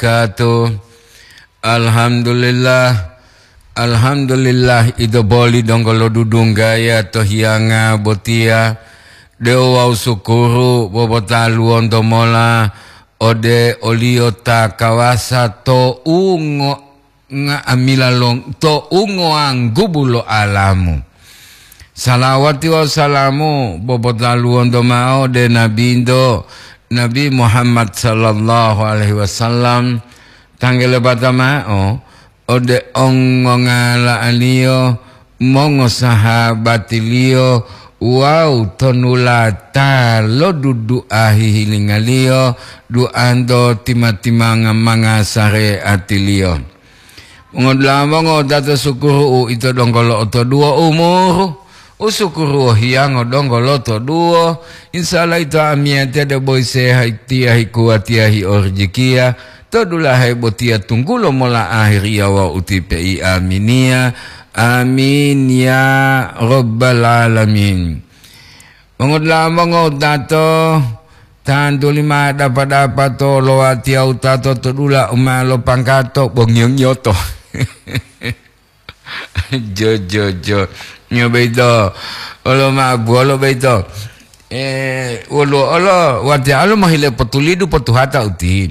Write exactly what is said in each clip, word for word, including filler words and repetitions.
wabarakatuh. Alhamdulillah, alhamdulillah, ito boli donggo lo dudunggaya to hiyanga botiya, de'u wawu sukuru bobotaluwonto mola ode o-Liyo ta kawasa to ungo nga'amila long-, to ungoanggubu lo alamu. Salawati wawu salamu bobotaluwonto ma'o ode Nabinto, Nabi Muhammad sallallahu alaihi wasallam, tanggelebata ma'o ode ongongala'aliyo, mongosahabatiliyo wawu tonulata lo dudu'a hihilingaliyo, duanto tima-timanga manga sareatiliyo. Mongodula'a mongowutato, sukuru uito donggo lo'otoduwo umuru, usukuru wohiyango donggo lotoduwo. Insya Allah ito amiyatiya debo hiseha tiya hikuwatiya hiorijikiya, to dulahe botiya tunggulo mola ahiriya wawu utipe'i. Aminiya, amin ya rabbal alamin. Mongodula'a mongowutato, tantuli ma dapa-dapa to olowatiya wutato to dula u ma lopangkato bongiyo-ngiyoto. Jo, jo, jo. Nyo boyito, olo ma'o buwolo boyito. Eh, woluwo olo, watiya olo mohile potulidu potuhata uti.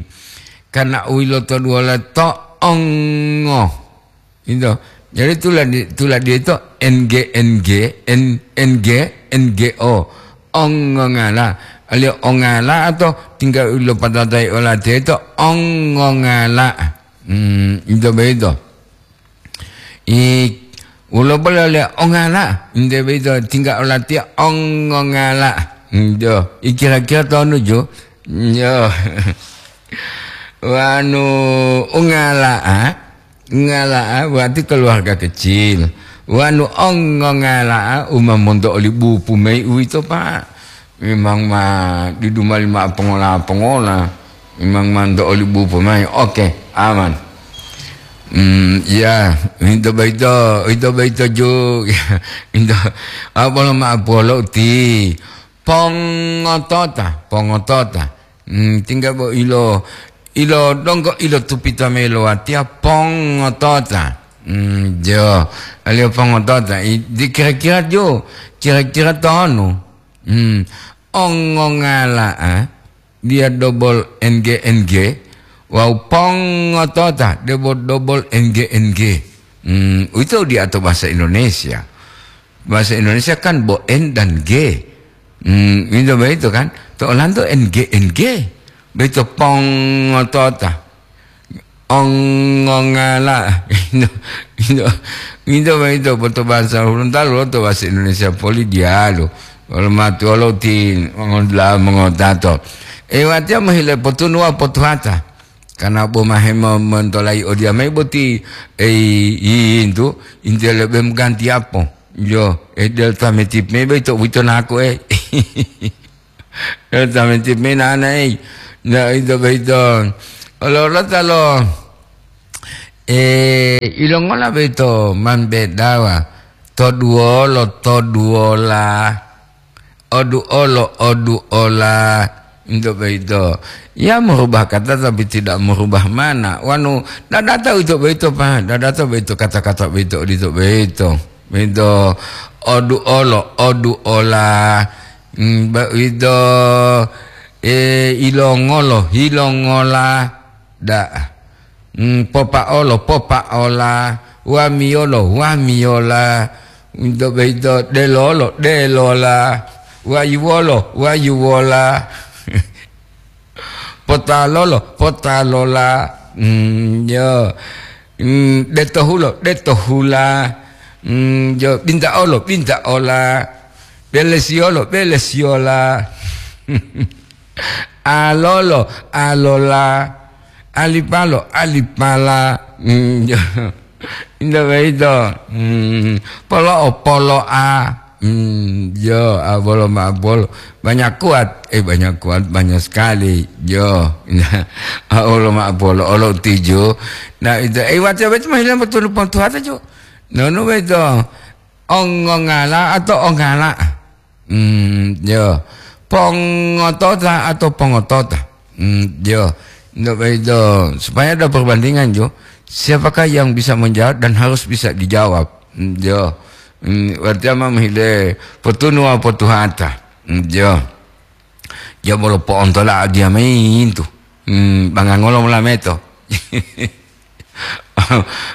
Karna u yilotoduwola to ongo. Ito. Jadi tuladi, tuladi ito N G, N G, N-, N G, N G O. Ongongala. Aliyo ongala atau tinggal u lopatatai olatiya ito ongongala. Hmm, ito boyito. I, wolo bolo le ongala, nte boyito tingga olatiya ongongala. Njo, i kira-kira tonu jo? Njo. Wanu ongala'a, ngala'a berarti keluarga kecil. Wanu ongongala'a uma monto oli bupu mayi uwito, Pak. Memang ma didu mali ma'o pongola-pongola. Memang ma nto oli bupo mayi. Oke, aman. Hmm, iya, ito boyito, ito boyito ju. Ito, apa lo ma'o polo ti? Pongotota, pongotota. Hmm, tingga bo ilo, ilo donggo ilo tupita melo watiya pongotota. Hmm, jo, aliyo pongotota. I, di kira-kira jo, kira-kira tonu. Hmm. Ongongala'a, dia dobol N G N G, wawu pongotota, debo dobol N G N G. Hmm, uwito diyato bahasa Indonesia. Bahasa Indonesia kan bo N dan G. Hmm, itu begitu kan? To olanto N G N G. Begitu pongotota. Ongongala. Ito, ito, ito, ito, boto bahasa Hulontalo, to bahasa Indonesia poli diyalu. Wolo matuwolo ti mongodula mongotato. E, watiya mohile potunuwa potuhata. Karena bo mahe mo-, montolayi odiyamayi boti, ei, yintu, intiya lebe mogantiyapo. Yo, e, delta metip me boyito, boyito naku, e. Tameti menana ei. Na ito boyito. Ololota lo, eh, ilongola boyito mambedawa? Toduwolo, toduwola. Oduolo, oduola. Ito boyito. Ya merubah kata tapi tidak merubah mana. Wanu, dadata ito boyito, Pak. Dadata boyito kata-kata boyito, odito boyito. Ito oduolo, oduola. Mm, ba-, ito, eh, ilongolo, hilongola, da'a. Mm, popaolo, popaola, wamiyolo, wamiyola, ito boyito delolo, delola, wayuwolo, wayuwola, potalolo, potalola, mm, yo, mm, detohulo, detohula, mm, yo, bintaolo, bintaola, belesiyolo, belesiyola. Alolo, alola. Alipalo, alipala. Hmm, jo. Inda boyito. Hmm, polo'o, polo'a. Hmm, jo, abolo ma abolo. Banyak kuat. Eh, banyak kuat, banyak sekali. Jo. Abolo ma abolo, olo tuju. Nah, itu. Eh, watiya boyito ma hilang betul pontuhata, jo. Nonu boyito? Ongongala atau ongala? Hmm, yo. Pongotota atau pongotota? Hmm, yo. Ndak begitu. Supaya ada perbandingan, jo. Siapakah yang bisa menjawab dan harus bisa dijawab? Hmm, jo. Hmm, berarti ama mohile potunu wawu potuhata. Hmm, jo. Ja bolo po'ontola adiya mayi yintu. Hmm, bangangolo molameto?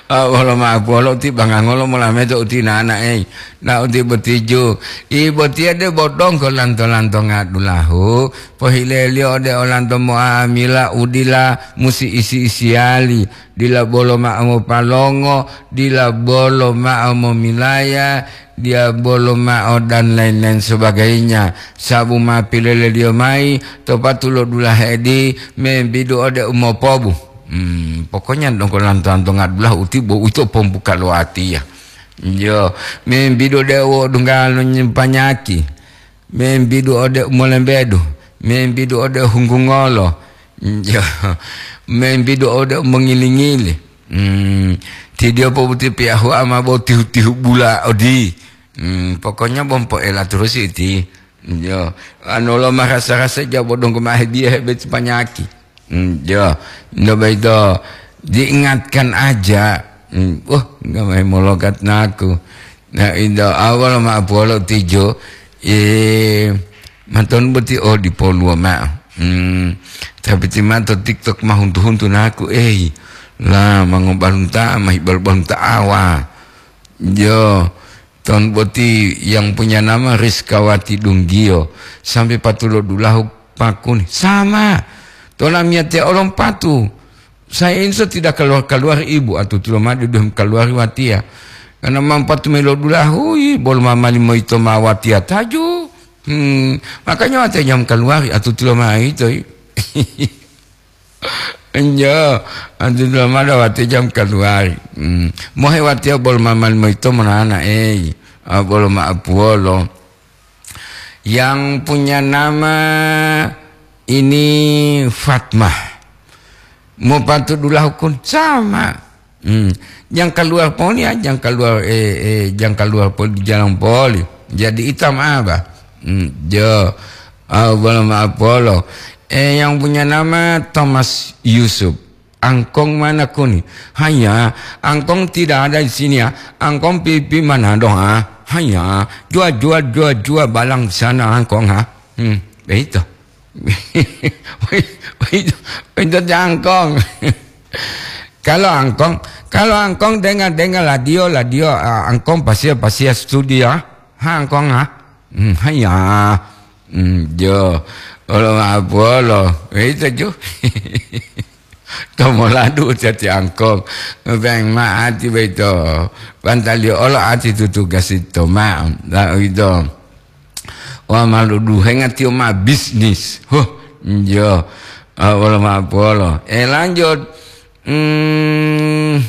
Ah, bolo ma'apuwolo uti bangangolo molameto uti nanae. Na uti botiju. I botiya de bodongko lanto-lanto ngadulahu. Pohileliyo ode olanto mo'amila udila musi isi-isiyali. Dila bolo ma'o mopalongo, dila bolo ma'o momilaya, dila bolo ma'o dan lain-lain sebagainya. Sabu ma pileleliyo mayi to patulo dulahe di membidu ode umopobu. Hmm, pokoknya dongko lanto-lanto ngadulahu uti bo uwito pombuka lo atiya. Yo, membidu ode uwodunggalo nyempanyaki. Membidu ode umolembedu, membidu ode hunggungolo, jo, membidu ode umongili-ngili. Hmm, tidiyo pobuti piyahu ama bo tihu-tihu bula odi. Hmm, pokoknya bompo ela terus iti. Jo, anu lo marasa-rasa jabo dongko mahe dia hebet panyaki. Hmm, jo, nda baito diingatkan aja. Hmm, wah, nggak main molokat naku. Nah, indo awal ma puolo tijo, eh, maton boti oh dipoluo ma'o. Hmm, tapi ti mato TikTok ma huntu-huntu naku, eh, lah, mangobalunta, mahi balunta awa. Jo, ton boti yang punya nama Rizkawati Dunggio, sampai patulo dulahu pakuni. Sama. Tola miate olom patu. Saya insya tidak keluar-keluar ibu, atau tulo madu dum keluar watia. Karena mampatu melo dulahu, hui, bol mamali moito ma watia taju. Hmm, makanya watia jam keluar, atau tulo ma ito. Enjo, antu dula mada wati jam kaluwari. Hmm. Mohe watiya bolo ma mali moyito monana, ei, ah, bolo ma apuwolo. Yang punya nama ini Fatmah. Mopatu dulahu kun sama. Hmm. Jang kaluwar poli, ah, jang kaluwar, eh, eh, jang kaluwar poli, jalan poli. Jadi itam apa? Hmm, jo. Ah, bolo ma apolo. Eh, yang punya nama Thomas Yusuf. Angkong mana kuni? Hanya, angkong tidak ada di sini ya. Angkong pipi mana doa? Hanya, jua, jua, jua, jua balang sana angkong ha. Hmm, begitu. Begitu, begitu angkong. Kalau angkong, kalau angkong dengar-dengar radio, radio, ah, angkong pasia, pasia studio, ha, angkong ha. Hmm, hanya. Hmm, jo. Olo ma apolo. Begitu, jo. Tomoladu cati angkong. Beng ma ati beto. Pantali olo ati tutu gasito ma. La ito. Wa malu duhenga tio ma bisnis. Huh, jo. Ah, olo ma apolo. Eh, lanjut. Hmm,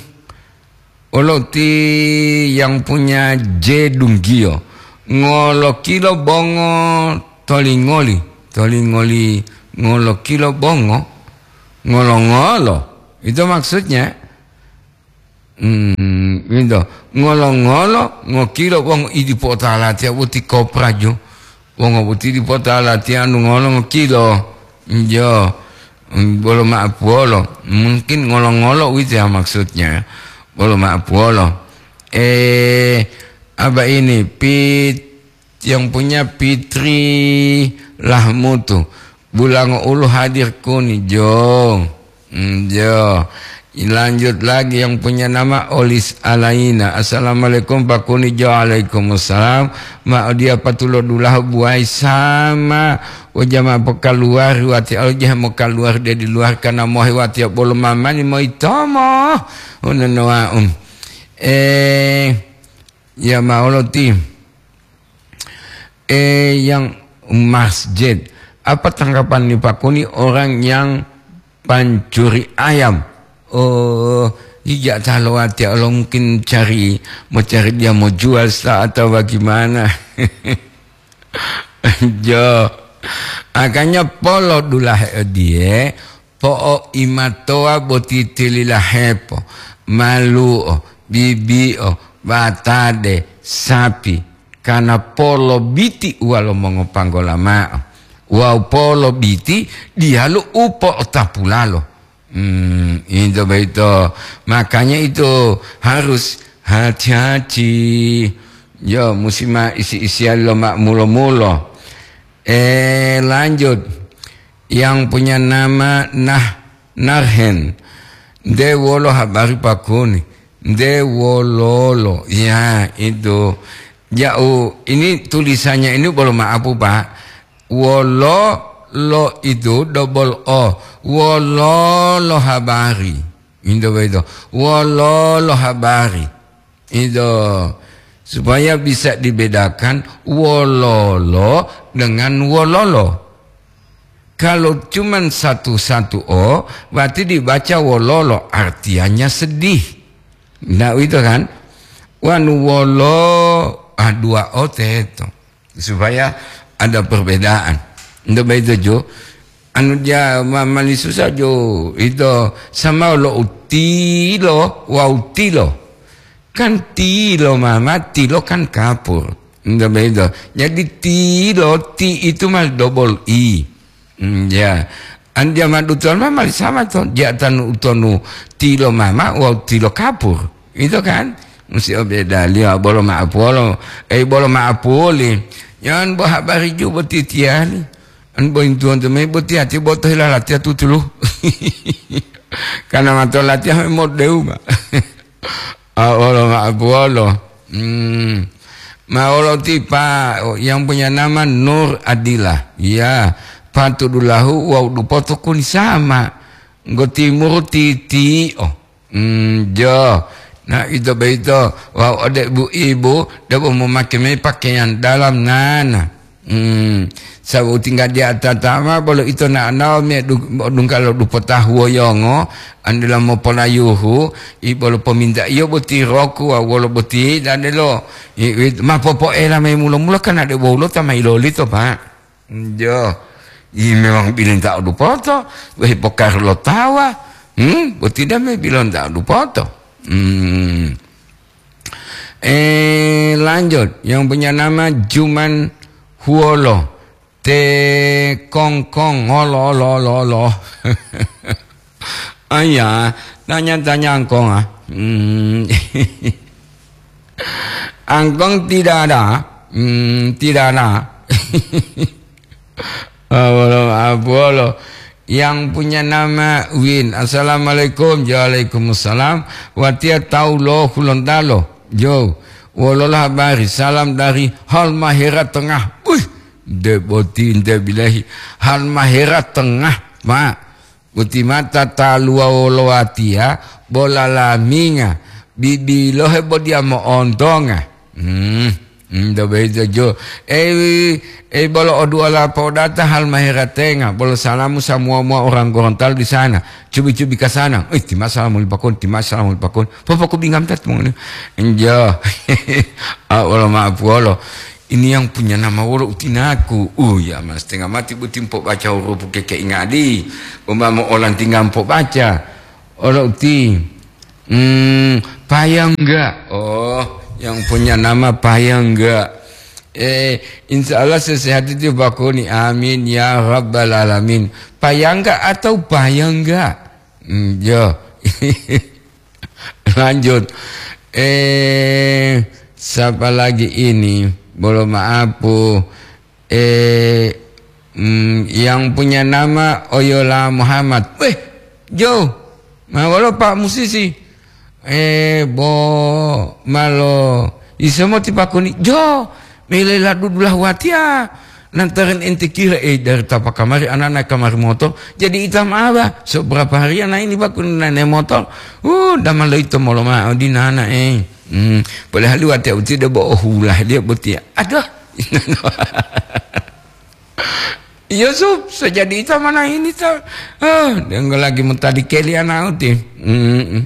Olo ti yang punya je dunggiyo. Ngolo kilo bongo tolingoli. Tolingoli ngolo kilo bongo. Ngolo-ngolo. Itu maksudnya. Hmm, gitu. Ngolo-ngolo, ngokilo bongo idi potala tiya boti kopraju. Wongo boti dipota latihan ngolo ngokilo. Jo, bolo ma'apuwolo. Mungkin ngolo-ngolo uwito ya maksudnya. Bolo ma'apuwolo. Eh, apa ini? Pit-, yang punya Fitri Lahmutu. Bulango ulu hadir kuni, jo. Hmm, jo. Lanjut lagi yang punya nama Olis Alaina. "Assalamualaikum, Pak Kuni." Jo, "Waalaikumsalam." Ma odia patulo dulahu buai sama. O jama pokaluwari wati alo jehe mokaluwari de di luar kana mohe wati bolo mamani moitomo. Unono wa'u. Eh, ya maolo ti. Eh, yang masjid. Apa tanggapan ni Pak Kuni orang yang pancuri ayam? Oh, ija talo ati Allah mungkin cari, mau cari dia mau jual sa atau bagaimana? Jo. Akanya polo dulahe odie, po'o imatowa boti tililahepo, malu'o, bibi'o, batade, sapi, kana polo biti uwalo mongopanggola ma'o. Wawu polo biti diyalu upo'otapulalo. Hmm, itu begitu. Makanya itu harus hati-hati. Yo, musi ma isi-isian lo ma mulo-mulo. Eh, lanjut. Yang punya nama Nah Narhen. Nde wolo habari pakuni? Nde wololo? Ya, itu. Jauh. Ini tulisannya ini bolo maapu, Pak. Wolo lo itu double O. Wololo habari. Itu begitu. Wololo habari. Itu. Supaya bisa dibedakan wololo dengan wololo. Kalau cuman satu-satu O, berarti dibaca wololo, artinya sedih. Nah, itu kan? Wanu wolo, ah, dua O teto. Supaya ada perbedaan. Ndak begitu, Jo? Anu dia ma-, mani susah, Jo. Itu sama lo utilo, wa utilo. Kan tilo mama, tilo kan kapur. Ndak begitu. Jadi tilo, ti itu mah double I. Hmm, ya. An dia madu tuan mama sama to. Dia tanu utonu tilo mama, wa tilo kapur. Itu kan? Musi obeda liyo bolo maapolo. Eh, bolo maapuli. Yan bo habari ju boti tiali. An bo intuan tu me boti ati boto hila latiya tutulu. Karena mato latiya me modeu ma. Ah, wolo maapolo. Hmm. Ma wolo tipa yang punya nama Nur Adila. Ya, patudulahu wau dupoto kuni sama. Nggo timuru titi. Oh. Hmm, jo. Nah, ito boyito, wau ode bu ibu, debo momake mayi pakaian dalam nana. Hmm, sabu tinggal di atatama, bolo ito na'anawa me du-, dungkalo dupota huwoyongo, andela mopolayuhu, i bolo pominta iyo boti roku, wa wolo boti dadelo, i, i, ma popoela mayi mulo-mulo kan ade wolulo ta ma ilolito, Pak. Njo, i memang bilinta'o dupoto, wehi pokaru lo tawa, hmm, boti dame bilinta'o dupoto. Hmm. Eh, lanjut, yang punya nama Juman Huolo, te kongkong, olo, olo, olo, olo. Aya, tanya-tanya angkong, ah. Hmm. Angkong tidak ada. Hmm, tidak ada. Ah, wolo, ah, wolo. Yang punya nama Win. Assalamualaikum. Waalaikumsalam. Watiya tawu lo Hulontalo. Jo. Wolola habari. Salam dari Halmahera Tengah. Wih, de boti nte bilahi. Halmahera Tengah, Pak. Boti mata taluwa wolo watiya, bola laminga, bibilohe bo diya mo'ontonga. Hmm, hmm, do beito jo. Eh, eh, bolo o du'a la podata Halmahera Tengah, bolo salamu samuwa-muwa orang Gorontalo di sana. Cubi-cubi ka sana. Eh, tima salamu li pakon, tima salamu li pakon. Popoko bingam tat mongoni. Enjo. Ah, wolo maaf wolo. Ini yang punya nama wolo utinaku. Uh, ya, mas, setengah mati boti mpobaca hurupu keke ingadi. Umamo olantinga mpobaca. Olo uti. Hmm, Payangga. Oh, yang punya nama Payangga. Eh, insya Allah sesehat itu bakuni. Amin ya rabbal alamin. Payangga atau Payangga? Hmm, yo. Lanjut. Eh, siapa lagi ini? Bolo maapu. Eh, mm, yang punya nama Oyola Muhammad. Weh, Jo, ma wolo Pak Musisi? Eh, bo malo isomo tipakuni. Jo, mele la dudulah watiya. Lantaran ente kira, eh, dari tapa kamari, anak-anak kamari motor, jadi ita ma'aba. So, berapa hari anak ini, Pak, kun naik motor? Uh, damang lo ito molo ma'o di nana, eh. Hmm, padahal watiya uti de bo ohulah dia botiya. Aduh. Yusuf, so jadi ita mana ini, ta? Ah, dia enggak lagi mau tadi keli anak uti. Hmm.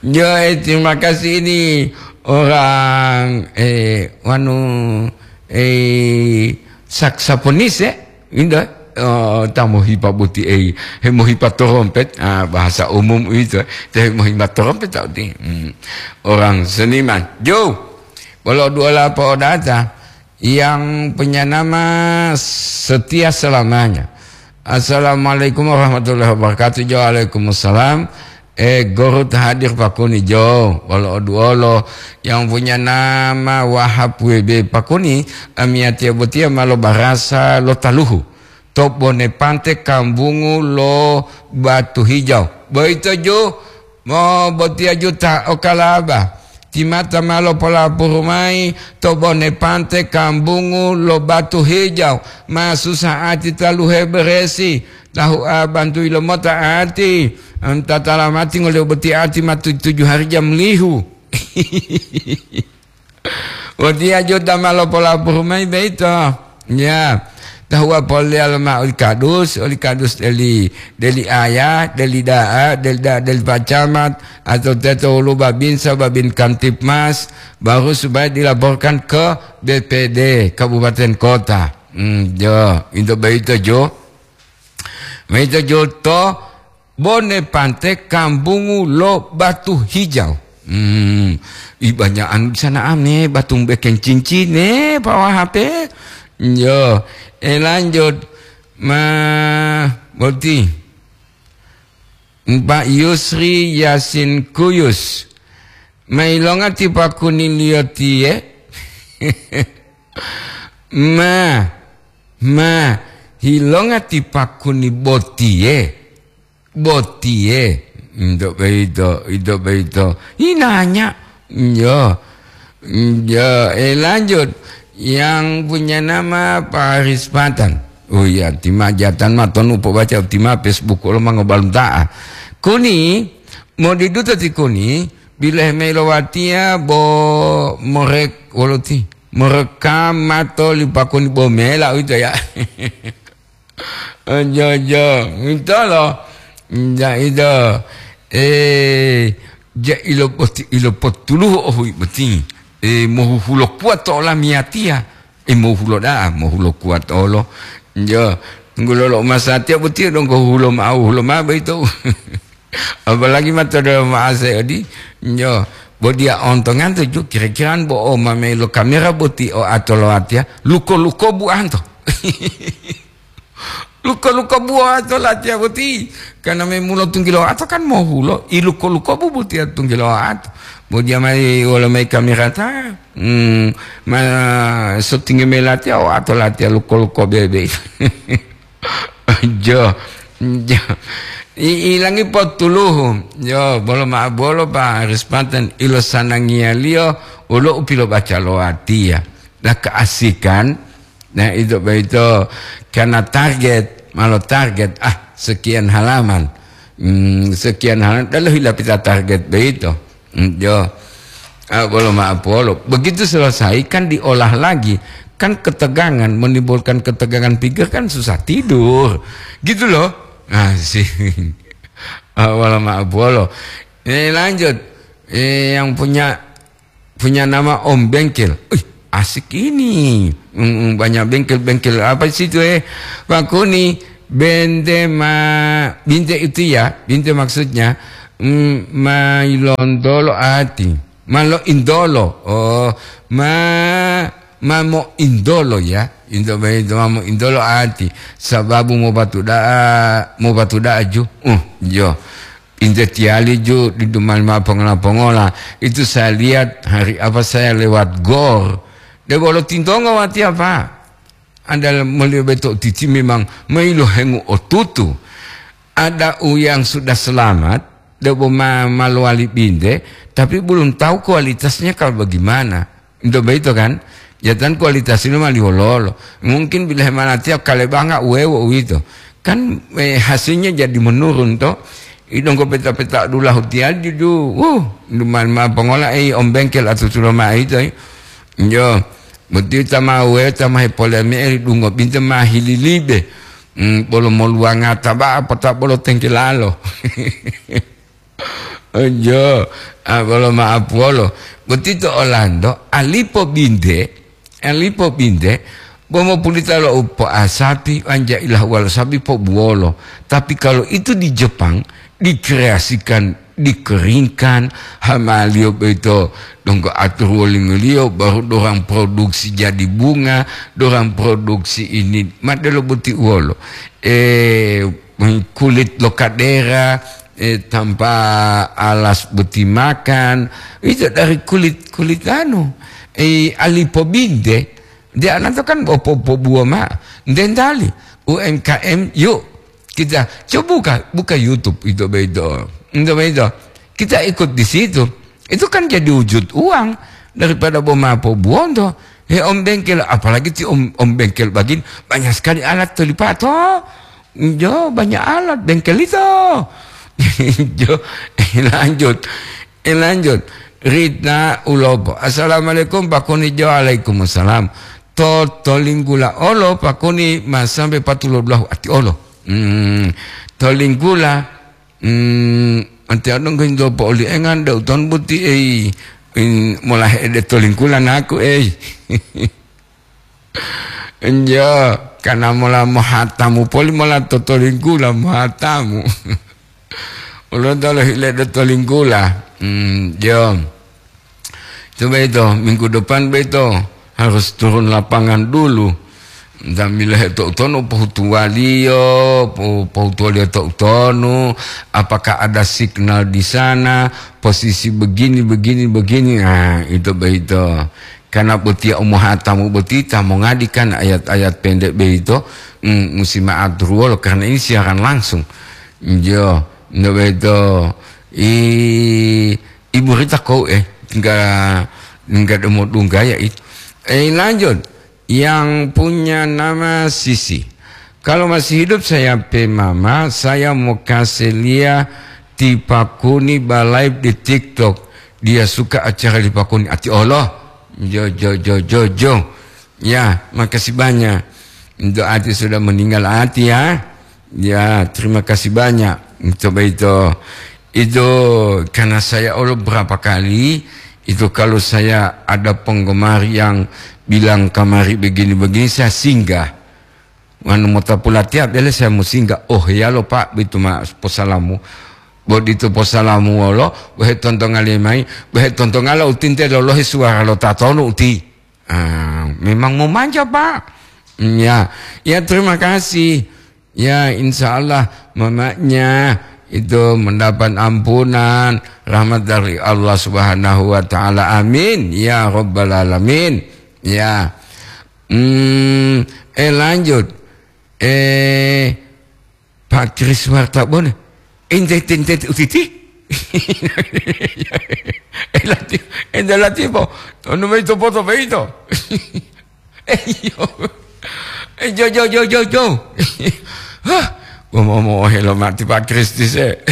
Yo, eh, terima kasih ini orang, eh, wanu, eh, saksofonis, eh, indah. Oh, ta mohipa boti, eh, he mohipa trompet, ah, bahasa umum itu, eh, te mohipa trompet tau ti. Hmm. Orang seniman. Jo, bolo duola po data yang punya nama setia selamanya. Assalamualaikum warahmatullahi wabarakatuh. Jo, waalaikumsalam. Eh, guru ta hadir pakuni jo. Wolo oduolo yang punya nama Wahab W B pakuni, amiyatiya botiya malo barasa lo taluhu. To bone pante kambungu lo Batu Hijau. Boyito jo, mo botiya juta o kalaba. Timata ma lopolapuru mayi to bone pante kambungu lo Batu Hijau, ma susah ati taluhe beresi, tahu a bantuyi lomota ati, anta talamati ngoliyo boti ati ma tu-, tujuh hari jam lihu. Botiya juta ma lopolapuru mayi boyito. Ya, tahuwa poleleyalo mao oli kadus, oli kadus deli, deli aya, deli da'a, deli da'a, deli pacamat, atau teto wolu babinsa, babin kamtipmas, baru supaya dilaporkan ke B P D kabupaten kota. Hmm, jo, into boyito jo. Boyito jo to bone pante kambungu lo Batu Hijau. Hmm, i banyak anu di sana ame, batu bekeng cincin, eh, Pak Wahab, eh. Yo, eh, lanjut. Ma, boti. Pak Yusri Yasin Kuyus. Ma ilonga ti pakuniliyo tiye? Ma, ma, ilonga ti pakuni botiye? Botiye. Ito boyito, ito boyito. Inanya. Yo. Yo, eh, lanjut. Yang punya nama Pak Haris Patan. Oh iya, tima jatan ma tonu pobaca tima Facebook lo mangobalunta'a. Kuni, modiduta ti kuni, bilehe mayi lo watiya bo morek woloti. Morekam mato lipakuni bo mela uwito ya. Ojo, ojo. Mitolo. Ja ito. Eh, ja ilo poti-, ilo potuluhu ohui boti. Eh, mohuhulo kuwa to olamiyatiya. Eh, mohulo da'a, mohulo kuwa tolo. Jo, tunggulo lo masatiya boti donggo hulo ma'o, hulo ma'o boyito. Apalagi ma to delomo ma'ase odi. Jo, bo diya ontonganto ju kira-kira bo o mamelo kamera boti o ato lo watiya. Luko-luko buanto. Luko-luko buato latiya boti. Karena me mulo tunggilo ato kan mohulo, i luko-luko bu botiya tunggilo ato. Bo diya mayi wolo mayi kamerata, hmm, ma sotingi mayi latiya, o ato latiya luko-luko bebe. Jo, jo. I, ilangi potuluhu. Jo, bolo ma bolo pa Haris Patan ilo sanangiyaliyo, ulo u pilobaca lo watiya. Nah, keasikan, nah, itu begitu. Karena target, malah target, ah, sekian halaman. Hmm, sekian halaman, lalu hilang kita target begitu. Hmm, jo. Ah, bolo maaf, bolo. Begitu selesai, kan diolah lagi. Kan ketegangan, menimbulkan ketegangan pikir, kan susah tidur. Gitu loh. Nah, sih. Ah, bolo maaf, bolo. Eh, lanjut. Eh, yang punya punya nama Om Bengkel. Wih, asik ini. Mm, mm, banyak bengkel-bengkel apa di situ, eh? Pak Kuni, bente ma-, binte itu ya, binte maksudnya, mm, ma ilondolo ati. Ma lo indolo. Oh, ma, ma mo indolo ya. Indo, indo ma mo indolo ati. Sababu mo batu da'a, mo batu da'a ju. Uh, jo. Inte tiyali ju didu mali mao pongola-pongola. Itu saya lihat hari apa saya lewat gor. Debo lo tintonga watiya, Pak. Ada meliyo beto titi memang mailohengu otutu. Ada u yang sudah selamat, debo ma-, ma lowali binte, tapi belum tahu kualitasnya kalau bagaimana. Ento boyito kan, jatan kualitasilo mali wololo. Mungkin bila hemalatiya kalebanga uwewo uwito. Kan, eh, hasilnya jadi menurun to. Idonggo peta-peta dulahu tiyali juju. Wuh, duman ma pongola ei Om Bengkel atutulo ma'o ito, eh. Jo, boti tama uwewo tama hepole me'e dungo binte ma hililibe. Hmm, bolo moluwangata ba apa ta bolo tengkelalo. Ojo, ah, bolo ma'apuwolo. Boti to olanto, alipo binte, alipo binte, bo mopulita lo upo'a sapi, wanja ilahuwalo sapi pobuwolo. Tapi kalau itu di Jepang, dikreasikan dikeringkan, hamaliyo boyito donggo aturu wolingoliyo, baru dorang produksi jadi bunga, dorang produksi ini, ma delo boti uwolo. Eh, kulit lo kadera, eh, tanpa alas boti makan, itu dari kulit, kulit anu, eh, alipobinte. Dia nanto kan opo-, opo buwa ma, dendali, U M K M, yuk. Kita coba buka, buka YouTube itu begitu. Itu begitu. Kita ikut di situ. Itu kan jadi wujud uang daripada boma po buonto. He om bengkel, apalagi ti om, om bengkel bagin, banyak sekali alat tolipato. Jo, banyak alat bengkel itu. Jo, lanjut. Eh, lanjut. Rita Ulopo. Assalamualaikum, Pak Kuni. Jo, waalaikumsalam. To, to linggula olo, Pak Kuni, ma sampai patulo belahu ati olo. Hmm, to linggula, hmm, anti anu nggih ndo po oli engan, da uton buti, ei, in, mola ede to linggula naku, ei. Enjo, kana mola mohatamu poli mola to to linggula mohatamu. Ulun tolo hile do to linggula. Hmm, jo. Coba itu, minggu depan begitu harus turun lapangan dulu. Sambil heto utono pohutuwaliyo, po-, pohutuwaliyo to utono, apakah ada signal di sana, posisi begini, begini, begini. Nah, itu begitu. Karena botiya umohatamu boti ta mongadi kan ayat-ayat pendek beito, mm, musi ma'aturuwolo karena ini siaran langsung. Iyo, nde beito. I, Ibu Rita kou, eh, enggak, enggak demo dunggaya itu. Eh, lanjut. Yang punya nama Sisi. Kalau masih hidup saya pe mama, saya mau kasih lia ti Pakuni ba live di TikTok. Dia suka acara di Pakuni. Ati Allah. Jo, jo, jo, jo, jo. Ya, makasih banyak. Untuk Ati sudah meninggal Ati ya. Ya, terima kasih banyak. Coba itu. Itu karena saya Allah berapa kali, itu kalau saya ada penggemar yang bilang kamari begini-begini, saya singgah. Wanu mota pulatiya bele saya musinggah. Oh, heyalo, Pak, bitu ma posalamu. Bo ditu posalamu wolo, bohe tontongale mayi, bohe tontongala utinte lolohe suwara lo tatonu uti. Ah, memang momanja, Pak. Ya, ya, terima kasih. Ya, insya Allah mamanya itu mendapat ampunan, rahmat dari Allah Subhanahu wa Ta'ala. Amin ya Rabbal Alamin. Ya. Hmm, eh, lanjut. Eh, Pak Kris Wartabone. Ente, ente, ente, utiti? Eh, lati, ente lati po. Tonu mayi to poto peito. Eh, iyo. Eh, jo, jo, jo, jo, jo. Hah, gua mau, mau helo mati Pak Kris dise.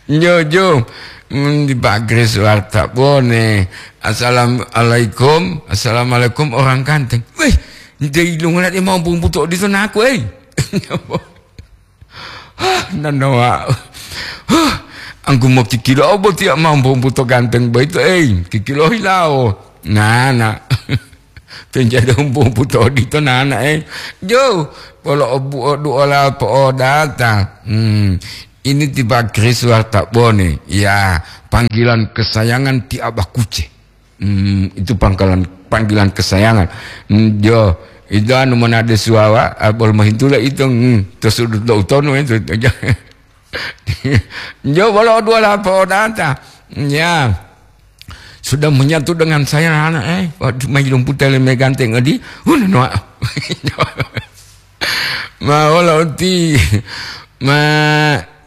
Jojo, mm, di Pak Kris Wartabone. Assalamualaikum. Assalamualaikum orang ganteng. Wih, nte ilungan ati mau bumbu to di sana aku, eh. Hah, nanawa. Hah, angku mau kikilo obo tiak mau bumbu to ganteng baito, eh. Kikilo hilao. Nah, nah. Penjado bumbu to di to nana, eh. Jo, polo obu odu ola po odata. Hmm. Ini ti Pak Kris Wartabone. Ya, panggilan kesayangan ti Abah Kuce. Hmm, itu pangkalan, panggilan kesayangan. Hmm, jo, itu anu monade suwawa, ah, bol mahintula itu, hmm, to sudut lo utono itu. Jo, bolo dua lapo data. Ya. Sudah menyatu dengan saya, anak, eh. Waktu mailung putele meganteng adi. Udah, no. Ma wala uti. Ma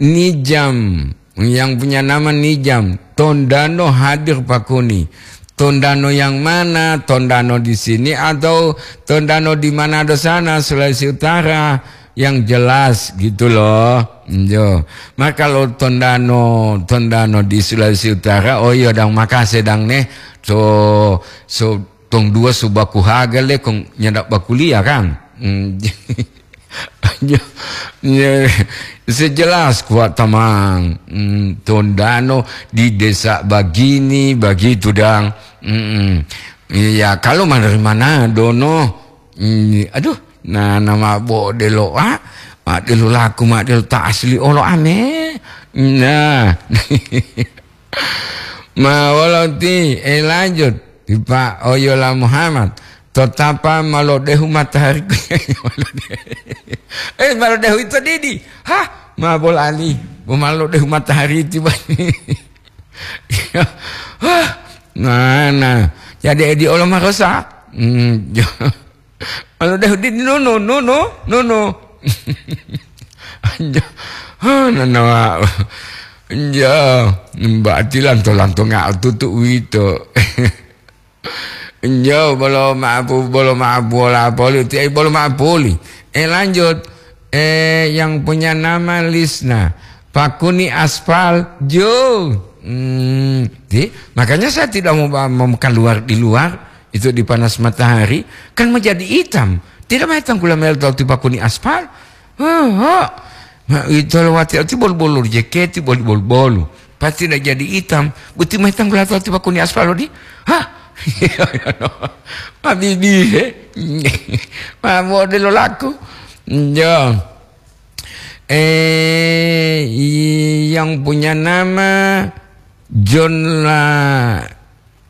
Nijam. Yang punya nama Nijam. Tondano hadir Pakuni. Tondano yang mana? Tondano di sini atau Tondano di Manado sana, Sulawesi Utara? Yang jelas gitu loh. Yo. Maka kalau Tondano, Tondano di Sulawesi Utara, oh iya, dang makase dang neh. So, so, tong dua so baku haga le kong nyanda bakuliah kan. Hmm. Ya, ya, sejelas kuat tamang. Hmm, Tondano di desa bagini, bagitu dang. Hmm, iya, kalau mana dari mana dono? Hmm, aduh, nah, nama bo delo, ah, ma delo laku, ma delo ta asli olo ame. Nah. Ma wolo ti, eh, lanjut. Ti Pa Oyola Muhammad. To tapa ma lodehu matahariku. Eh, ma lodehu ito didi. Hah? Ma bolali. Bo ma lodehu matahari tiba. Hah? Mana? Jadi edi olo marosa. Hmm, jo. Anu deh, di, nono, nono, nono. Anjo, oh, nono, anjo, mbati lanto-lanto nga'o tutu uwito. Anjo, bolo ma'apu, bolo ma'apu, bola poli, ti ai bolo ma'apuli. Eh, lanjut. Eh, yang punya nama Lisna. Pakuni aspal, jo. Hmm, ti, makanya saya tidak mau, mau keluar di luar. Itu dipanas matahari, kan menjadi hitam. Tidak maetang gula mel tau tipakuni aspal. Hehe. Ma ito lewati ati bolu-bolu jeketi, bolu-bolu. Pasti tidak jadi hitam. Buti maetang gula tau tipakuni aspal, di? Hah? Habibi, he? Ma model laku. Ya. Eh, yang punya nama John La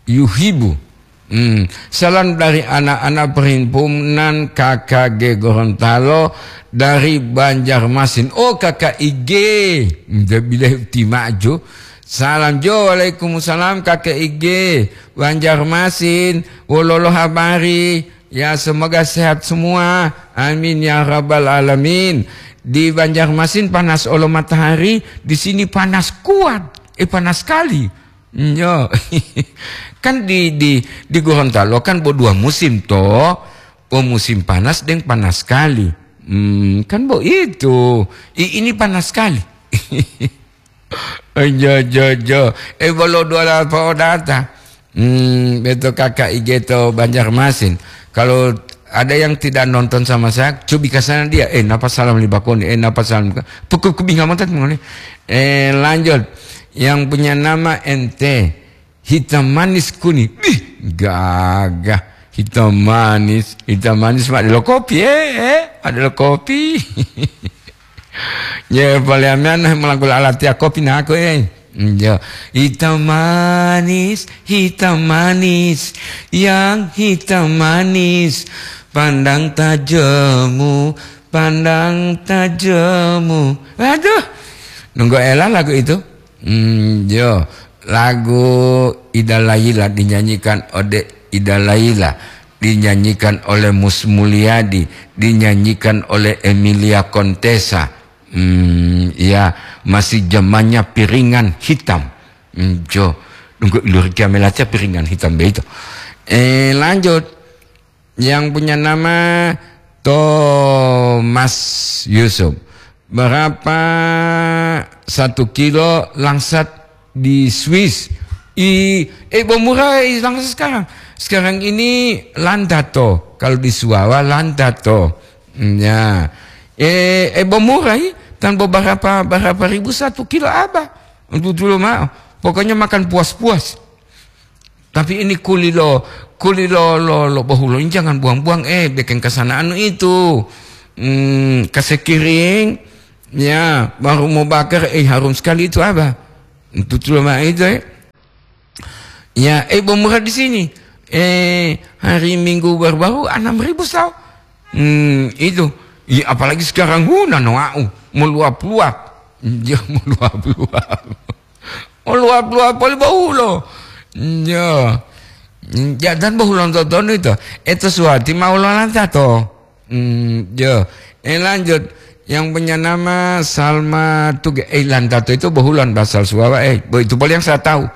Yuhibu. Hmm. Salam dari anak-anak perhimpunan K K G Gorontalo dari Banjarmasin. Oh, K K I G. Nda bilai utimaju. Salam jo, waalaikumsalam K K I G Banjarmasin. Wololo habari? Ya, semoga sehat semua. Amin ya rabbal alamin. Di Banjarmasin panas olo matahari, di sini panas kuat. Eh, panas sekali. Nyo. Kan di, di, di Gorontalo kan bo dua musim to. Bo musim panas deng panas sekali. Hmm, kan bo itu. I, ini panas sekali. Jo, jo, jo. Eh, bolo dua lapa odata. Hmm, beto K K I G to Banjarmasin. Kalau ada yang tidak nonton sama saya, cobi ke sana dia. Eh, napa salam li bakoni? Eh, napa salam? Pukul kubinga mata ngoni. Eh, lanjut. Yang punya nama ente. Hitam manis kuning. Bih, gagah. Hitam manis, hitam manis, mak, ada lo kopi, eh, eh, ada lo kopi. Ye, paliamean melangkul alat ya kopi na aku, eh. Ya, hitam manis, hitam manis, yang hitam manis, pandang tajamu, pandang tajamu. Aduh, nunggu ela lagu itu. Hmm, yo, lagu Ida Laila dinyanyikan ode Ida Laila, dinyanyikan oleh Mus Mulyadi, dinyanyikan oleh Emilia Contessa. Hmm, ya, masih zamannya piringan hitam. Hmm, jo, nunggu iluri kiamelaca piringan hitam begitu. Eh, lanjut. Yang punya nama Thomas Yusuf. Berapa satu kilo langsat di Swiss? I, eh, bo murah, eh, langsat sekarang. Sekarang ini landato. Kalau di Suwawa, landato. Ya. Eh, eh, bo murah, i? Tan beberapa, berapa ribu satu kilo apa? Untuk dulu mau. Pokoknya makan puas-puas. Tapi ini kuli lo, kuli lo, lo, lo bohulo ini jangan buang-buang, eh, bikin kesanaan itu. Hmm, kasekiring, ya, baru mau bakar, eh, harum sekali itu apa? Itu tuh mah itu, eh. Ya, eh, bomurah di sini. Eh, hari Minggu baru-baru enam ribu saw. Hmm, itu. Ya, apalagi sekarang, hu, nanoau, meluap-luap. Ya, meluap-luap. Oluwa-luwa poli bohulo. Yo. Ya, dan bohulo totonu ito. Eto suwati ma ulo lantato. Hmm, yo. Eh, lanjut. Yang punya nama Salma Tuge. Eh, lantato itu bohulan bahasa Suwawa. Eh, bo-, itu poli yang saya tahu.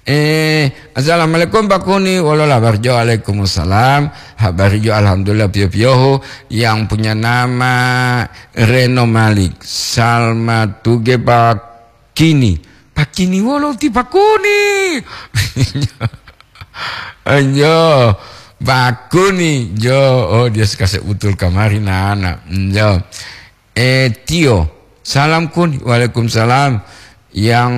Eh, assalamualaikum Pak Kuni. Wolola barjo. Waalaikumsalam. Habari jo alhamdulillah piyo-piyohu. Yang punya nama Reno Malik. Salma Tuge Pak Kini. Pakini wolo ti Pakuni. Anjo, Pakuni. Jo, oh, dia suka seutul kamari nana. Jo. Eh, Tio. Salam Kun. Waalaikumsalam. Yang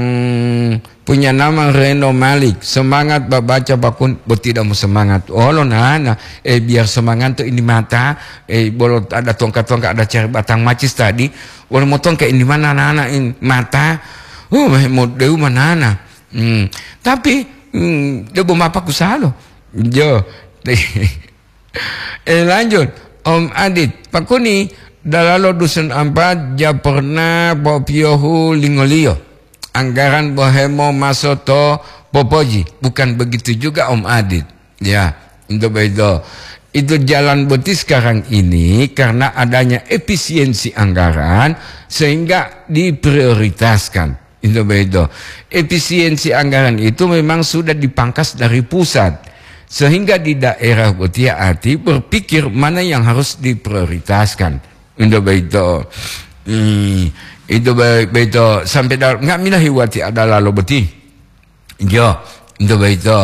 punya nama Reno Malik, semangat babaca pakun, bo tidak mau semangat. Olo nana, eh, biar semangat tuh ini mata, eh, bolo ada tongkat-tongkat, ada cari batang macis tadi, wolo motong ke ini mana nana in mata, uh, mau dewu manana. Hmm. Tapi, hmm, debo mapa kusalo. Jo. Eh, lanjut, Om Adit. Pakuni, dalalo dusun ampat, ja pernah popiyohu lingoliyo. Anggaran bohemo maso to popoji. Bukan begitu juga, Om Adit. Ya, itu begitu. Itu jalan boti sekarang ini karena adanya efisiensi anggaran sehingga diprioritaskan. Itu begitu. Efisiensi anggaran itu memang sudah dipangkas dari pusat. Sehingga di daerah botiya ati berpikir mana yang harus diprioritaskan. Itu begitu. Hmm, itu be-, begitu. Sampai dalam, nggak milah hiwati ada lalo boti. Jo, itu begitu.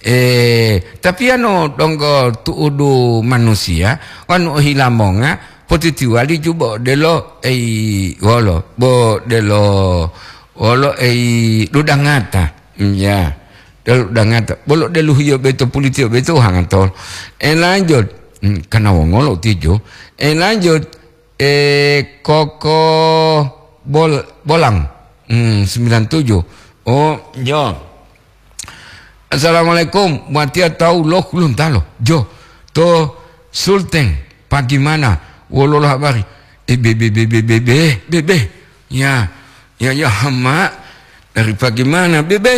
Eh, tapi anu donggo tu'udu manusia, wanu ohilamonga, potitiwali ju bo delo, ei, wolo, bo delo, wolo, ei, dudangata. Ya, delo dudangata. Bolo delu hiyo beto pulitiyo beto hangatol. Eh, lanjut. Hmm, kana wongolo tijo. Eh, lanjut. Eh, Koko Bol-, Bolang. Hmm, sembilan tujuh. Oh, jo. Assalamualaikum. Watiya tahu loh, belum tahu loh. Jo, to Sulteng, bagaimana? Wololo habari? Eh, be, be, be, be, be, be, be, be. Ya, ya, ya, hama. Dari bagaimana, be, be?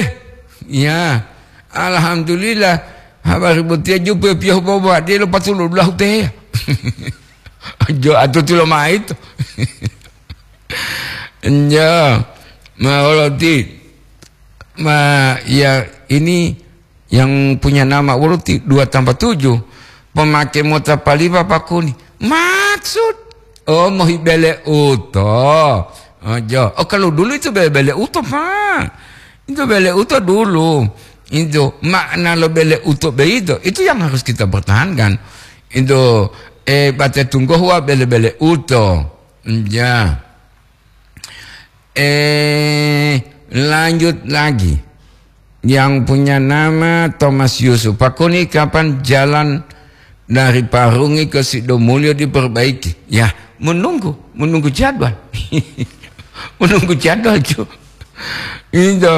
Ya, alhamdulillah. Habari botiya jupe piyohu bobo, dia lo patulu dulahu te. Jo, atuti lomai to. Ya, ma, wolo ti, ma, ya, ini yang punya nama wolo ti dua tambah tujuh. Pemake mota palipa pakuni. Maksud, oh, mohi bele uto. Oh, jo. Oh, kalau dulu itu bele-bele uto, Pak. Itu bele uto dulu. Itu makna lo bele uto beito. Itu yang harus kita pertahankan. Itu, eh, bate tunggohua bele-bele uto. Ya. Eh, lanjut lagi. Yang punya nama Thomas Yusuf. Pakuni kapan jalan dari Parungi ke Sidomulyo diperbaiki? Ya, menunggu, menunggu jadwal. Menunggu jadwal, Ju. Itu,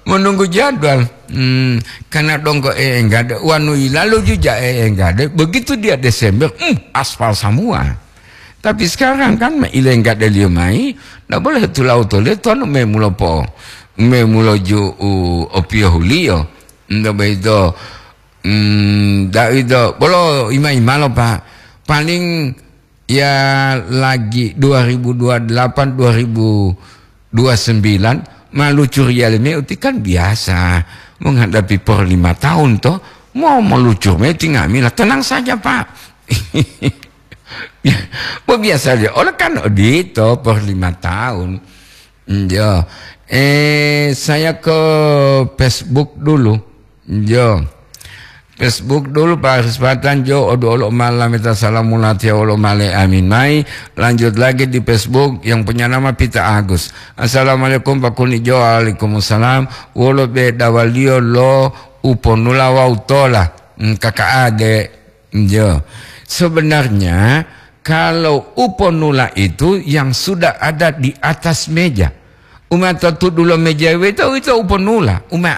menunggu jadwal. Hmm, karena dongko enggak ada, wanu ilalu juga enggak ada. Begitu dia Desember, hmm, aspal semua. Tapi sekarang kan ma ilenggadeliyo mayi, ndak boleh tulau tole tonu memulo po, memulo ju u opiyohuliyo. Ndak begitu, mm, ndak itu. Bolo ima-imalo, Pak. Paling ya lagi dua ribu dua delapan, dua ribu dua sembilan, malucur yale me uti kan biasa menghadapi por lima tahun toh. Mau melucur me tinggal mila, tenang saja, Pak. Bo biasa dia, oleh kan odito por lima tahun. Njo. Eh, saya ke Facebook dulu. Njo. Facebook dulu, Pak Haris Patan, jo, odu olo malameta salam mulatiya wolo male amin mai. Lanjut lagi di Facebook yang punya nama Pita Agus. Assalamualaikum, Pak Kuni, jo. Waalaikumsalam. Wolo bedawaliyo lo uponula wawu tola? Hmm, kaka'ade. Njo. Sebenarnya, kalau uponula itu yang sudah ada di atas meja. Uma to tudulo meja weto, ito uponula. Uma